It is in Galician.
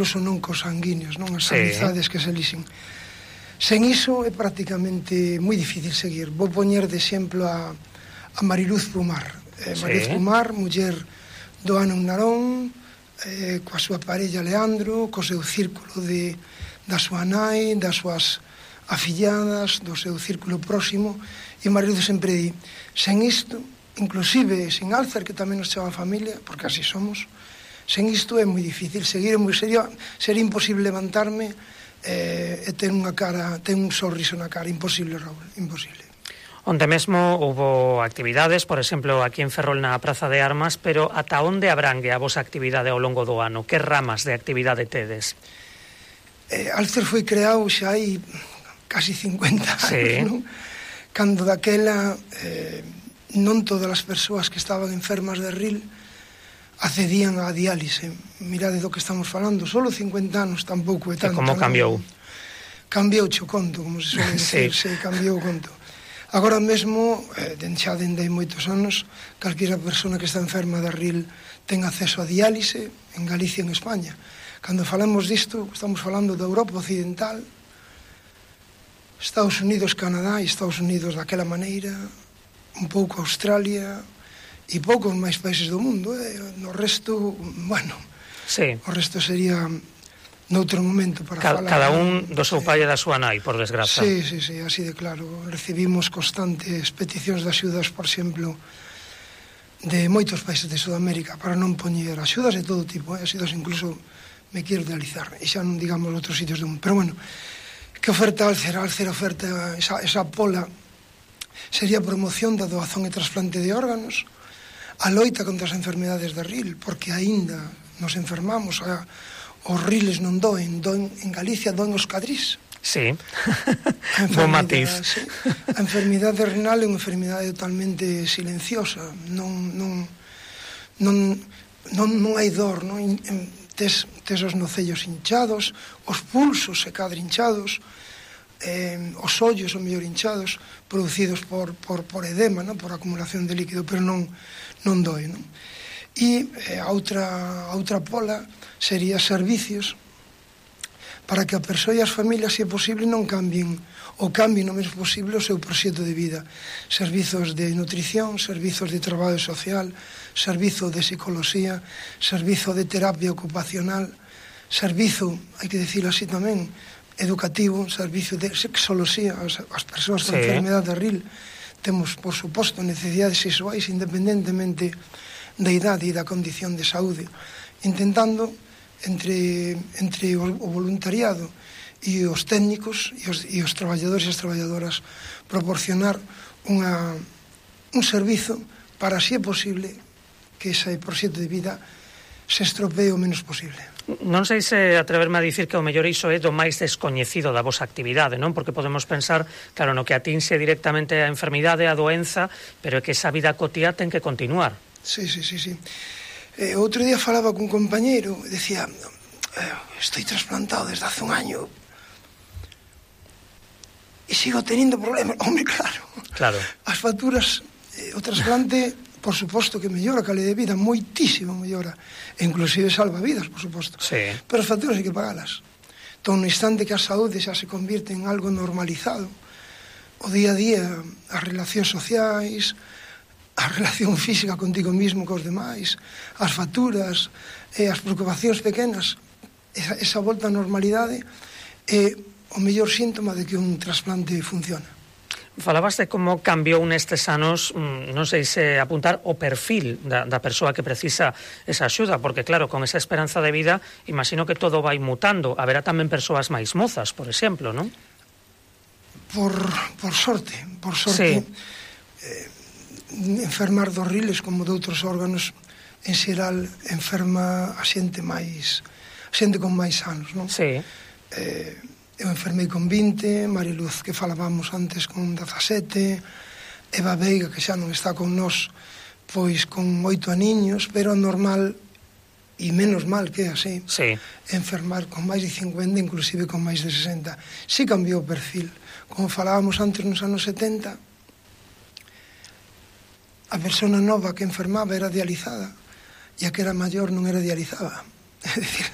incluso non cos sanguíneos, non as amizades que se elixen. Sen iso é prácticamente moi difícil seguir. Vou poñer de exemplo a Mariluz Pumar. Mariluz Pumar, muller do ano en Narón, coa súa parella Leandro, co seu círculo da súa nai, das súas afilladas, do seu círculo próximo, e Mariluz sempre di, sen isto, inclusive sen Álcer, que tamén nos chama familia, porque así somos, sen isto é moi difícil seguir, sería imposible levantarme e ter unha cara, ter un sorriso na cara, imposible, Raúl, imposible. Onde mesmo houbo actividades, por exemplo, aquí en Ferrol na Praza de Armas, pero ata onde abrangue a vosa actividade ao longo do ano? Que ramas de actividade tedes? Álcer foi creado xa hai casi 50 anos, non? Cando daquela non todas as persoas que estaban enfermas de RIL accedían á diálise. Mirade do que estamos falando, solo 50 anos tampouco é tanto. E como cambiou? Cambiou o conto, como se suele decir, se cambiou o conto. Agora mesmo, xa dende hai moitos anos, calquera persona que está enferma de RIL ten acceso a diálise en Galicia e en España. Cando falamos disto, estamos falando da Europa Occidental, Estados Unidos, Canadá e Estados Unidos daquela maneira, un pouco Australia e poucos máis países do mundo. No resto, bueno, o resto sería noutro momento para falar. Cada un do seu pai e da súa nai, por desgraza. Sí, así de claro. Recibimos constantes peticións de axudas, por exemplo, de moitos países de Sudamérica, para non poñer axudas de todo tipo, axudas incluso, me quero realizar, e xa non digamos outros sitios do mundo. Pero bueno, que oferta Álcer? Álcer oferta esa pola sería promoción da doazón e trasplante de órganos, a loita contra as enfermedades de RIL, porque aínda nos enfermamos, os riles non doen, en Galicia doen os cadrís. Sí, bom matiz. A enfermidade renal é unha enfermidade totalmente silenciosa, non hai dor, tes os nocellos hinchados, os pulsos se cadra hinchados, os ollos o mellor hinchados, producidos por edema, por acumulación de líquido, pero non doe. E a outra pola sería servicios para que a persoa e as familias, se é posible, non cambien o menos posible o seu proxecto de vida. Servizos de nutrición, servizos de traballo social, servizo de psicología, servizo de terapia ocupacional, servizo, hai que dicilo así tamén, educativo, servizo de sexoloxía. As persoas con enfermedade de RIL temos, por suposto, necesidades sexuais independentemente da idade e da condición de saúde, intentando entre o voluntariado e os técnicos e os traballadores e as traballadoras proporcionar un servizo para, se é posible, que ese proxecto de vida se estropee o menos posible. Non sei se atreverme a dicir que o mellor iso é do máis descoñecido da vosa actividade, non? Porque podemos pensar, claro, no que atinxe directamente a enfermidade, a doenza, pero é que esa vida cotía ten que continuar. Sí. Outro día falaba cun compañeiro e decía, estoy trasplantado desde hace un año e sigo teniendo problemas. Home, claro. As facturas, o trasplante, por suposto que mellora a calidad de vida, moitísimo mellora, e inclusive salva vidas, por suposto. Sí. Pero as facturas hai que pagalas. Entón, no instante que a saúde xa se convirte en algo normalizado, o día a día, as relacións sociais, a relación física contigo mismo, cos demais, as facturas, as preocupacións pequenas, esa volta á normalidade é o mellor síntoma de que un trasplante funciona. Falabas de como cambiou nestes anos, non sei se apuntar o perfil da persoa que precisa esa axuda, porque claro, con esa esperanza de vida, imagino que todo vai mutando. Haberá tamén persoas máis mozas, por exemplo, non? Por sorte. Sí. Enfermar dos riles como de outros órganos, en xeral enferma a xente con máis anos, non? Sí. Eu enfermei con 20, Mariluz, que falábamos antes, con 17, Eva Veiga, que xa non está con nós, pois con 8 aniños, pero normal, e menos mal que é así, enfermar con máis de 50, inclusive con máis de 60. Si cambiou o perfil. Como falábamos antes nos anos 70, a persona nova que enfermaba era dializada, e a que era maior non era dializada. É dicir,